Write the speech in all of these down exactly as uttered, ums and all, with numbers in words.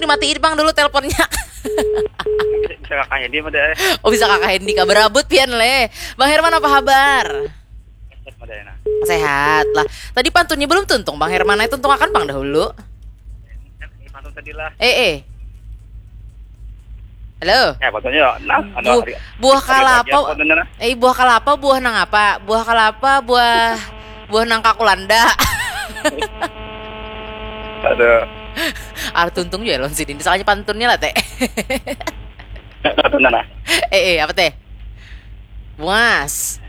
Dimatiin pang dulu teleponnya. Bisa kakak Hendy mah deh. Oh, bisa kakak Hendy kah? Berabut pian leh. Bang Herman, apa kabar? Set mah deh nah. Sehat lah. Tadi pantunnya belum tuntung, Bang Herman. Ayo tuntung akan pang dahulu. Ini pantun tadi lah. Eh, eh. Halo. Ya, pantun ya. Nah, anu, Bu- hari- buah hari pagi kelapa. Apa tuh, nah? Eh, buah kelapa, buah nang apa? Buah kelapa, buah buah nangka kulanda. Ada Ar tuntung juga lawan sidin. Soalnya pantunnya lah, teh. Apa tuh, nah? Eh, eh, apa teh? Muas.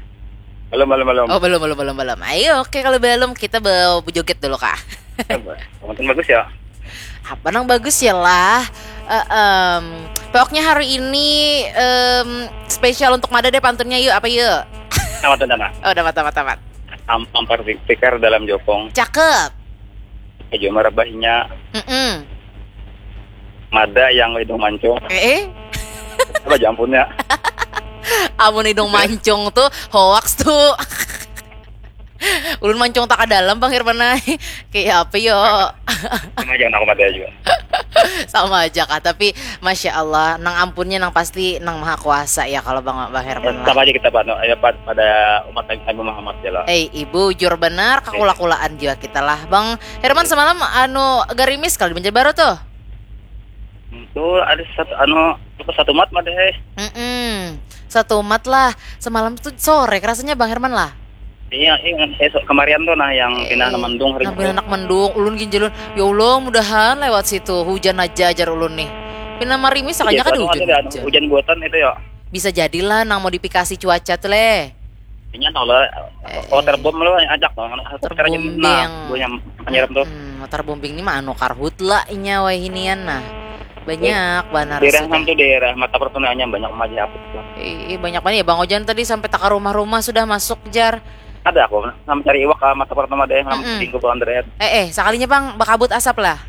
Belum, belum, belum. Oh, belum, belum, belum, belum. Ayo, oke, kalau belum, kita bawa joget dulu kah? Pantun bagus ya. Apa nang bagus ya lah? Eh, em, pokoknya hari ini em, spesial untuk Mada deh pantunnya, yuk, apa yuk? Sama tuh, nah. Oh, dapat, dapat, dapat. Am- Ampar tikar dalam jokong. Cakep. Aja marabahinya. Mm-mm. Mada yang hidung mancung. Eh, eh. Apa jampunnya? Amun hidung mancung tuh hoax tuh. Ulun mancung tak ke dalam, Bang Herman ai. Kayak apa yo? Sama aja, aku mada juga. Sama aja kah, tapi masya Allah, nang ampunnya nang pasti nang maha kuasa ya kalau Bang Bang Herman lah. Sama aja kita, Pak. No, ya, Pak, pada umat Nabi Muhammad ya lah. Eh, ibu, jujur benar, kakula-kulaan juga kita lah. Bang Herman semalam anu garimis kalau di Banjarbaru tuh. Itu ada satu anu apa satu mat mah deh. Mm-mm. Satu umat lah. Semalam tuh sore rasanya, Bang Herman lah. Iya, iya, esok kemarin tuh nah yang pindah Eh, mendung hari nang pindah anak mendung, ulun ginjalun. Ya Allah, mudahan lewat situ hujan aja, ajar ulun nih. Pindah marimis sakanya kada Anu hujan, ada anu, hujan. Hujan buatan itu ya. Bisa jadilah nang modifikasi cuaca tuh leh. Ini tahu lah. Eh, Waterbombing lo yang ajak dong. Waterbombing. Buahnya penyiram tuh. Hmm, waterbombing ini mah anu karhut lah inya wai hinian nah. Banyak banar Daerah sudah. Hantu daerah mata pertunanya banyak aja apa. Ih, banyak banget ya, Bang Ojan tadi sampai tak ke rumah-rumah sudah masuk, jar. Ada aku sama cari iwak ke mata pertama deh, sama Mm-mm. Tinggi Pulau Andreas. Eh, eh, sakalinya, Bang, bakabut asap lah.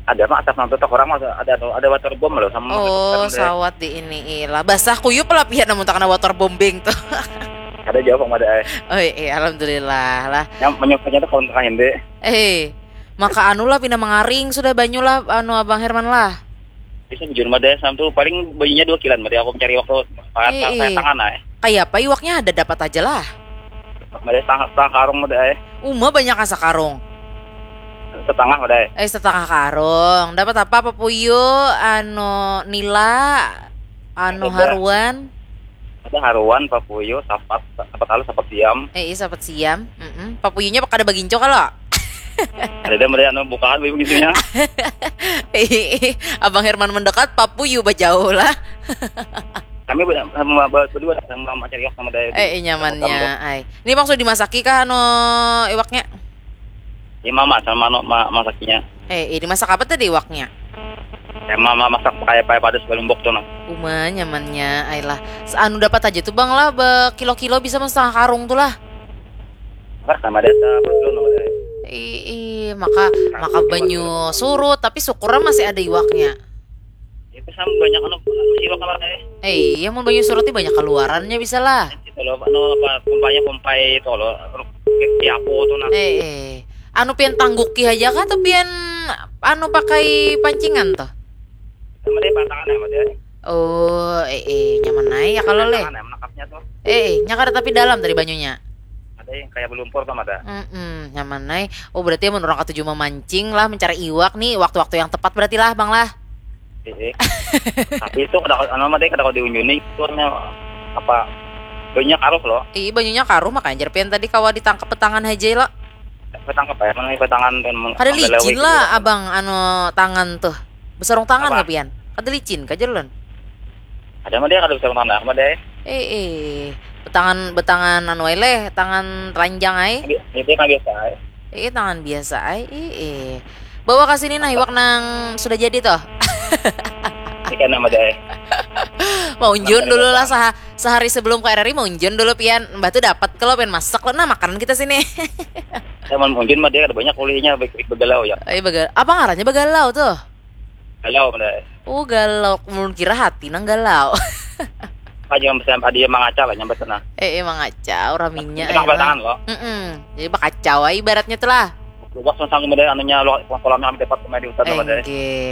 Ada mah asap nanti tak orang mah ada tuh, ada waterbombing loh sama Oh, waterbombing deh. Sawat di ini ilah. Basah kuyup lah pihak namun tak kena waterbombing tuh. Ada jawab sama ada eh. Oh, iya, alhamdulillah lah. Yang menyukanya tuh kalau tengah ini. Eh, maka anu lah pindah mengaring sudah banyu lah, anu, Abang Herman lah. Bisa bujur mah deh, sama tuh paling banyunya dua kilan mah deh, aku mencari waktu pas Iya, saya iya. Tangan eh. Kayak apa iwaknya ada dapat aja lah. Mah deh setengah, setengah karung mah deh. Uma banyak asa karung. Setengah mah deh. Eh, setengah karung. Dapat apa? Papuyu, anu, nila, anu, Ada. Haruan. Ada haruan, papuyu, sapat, sapat halus, sapat siam. Eh, iya, sapat siam. Mm-mm. Papuyunya kada baginco kalau. Ada deh mereka anu bukaan begitunya. Eh, Abang Herman mendekat, papuyu bajauh lah. Kami ber- sama ber- berdua sama sama cari sama daya. Eh, eh, nyamannya, ai. Ini Bang sudah dimasaki kah anu iwaknya? Ya mama sama anu ma- masaknya. Eh, ini masak apa tadi iwaknya? Ya mama masak kayak pakai pada sebelum bok tuh nah. Uma nyamannya, ai lah. Se- Anu dapat aja tuh, Bang lah, be- kilo-kilo bisa mah setengah karung tuh lah. Apa sama desa apa tuh nama deh. Ih, ih, maka maka banyu surut, tapi syukurnya masih ada iwaknya. Itu sama banyak anu masih lo kamar deh. Eh, iya, mau banyu surut ini banyak keluarannya bisa lah. Itu loh, anu apa pompanya pompai itu loh. Di aku tuh nah. Eh, eh. Anu pian tangguki aja kah atau pian anu pakai pancingan tuh? Sama deh pantangan ya sama deh. Oh, eh, eh, nyaman aja ya kalau leh. Pantangan ya menangkapnya tuh. Eh, eh, nya kada tapi dalam tadi banyunya. Ada yang kayak belumpur sama ada. Mm-mm, nyaman ai. Oh, berarti mun orang katuju memancing lah, mencari iwak nih, waktu-waktu yang tepat berarti lah, Bang lah. Eh, eh. Tapi itu kada anu mah deh kada kau diunjuni itu hanya apa banyak arus loh. Ih, banyunya karuh, makanya jar pian tadi kawa ditangkap petangan aja lo. Ketangkep ya, mana petangan dan meng- Kada menggalawai licin gitu lah, ya. Abang, anu, tangan tuh. Besarung tangan Apa? Kah pian? Kada licin kah jar ulun? Ada mah dia kada bisa mana mah deh. Eh, eh. Betangan, betangan anu ai leh, tangan telanjang ai. Itu kan biasa. Eh. Eh, tangan biasa ai. Eh, eh. Bawa ke sini nah iwak nang sudah jadi toh. Ini kan nama deh. Maunjun dulu lah saha- sehari sebelum ke R R I, maunjun dulu pian. Mbah tuh dapat kalau pian masak lo nah makanan kita sini. Saya mau unjun mah dia ada banyak kuliahnya baik baik begalau ya. Eh, bagal, apa ngarannya bagalau tuh? Galau mah deh. Oh, galau. Mun kira hati nang galau. Aja yang bisa dia mangaca lah nyambat sana. Eh, emang acau raminya. Kita Ayolah. Tangan loh. Mm-mm. Jadi bakacau aja ibaratnya tuh lah. Luas sang mah deh anunya lo kolamnya kami dapat kemarin di hutan mah deh. Enggih.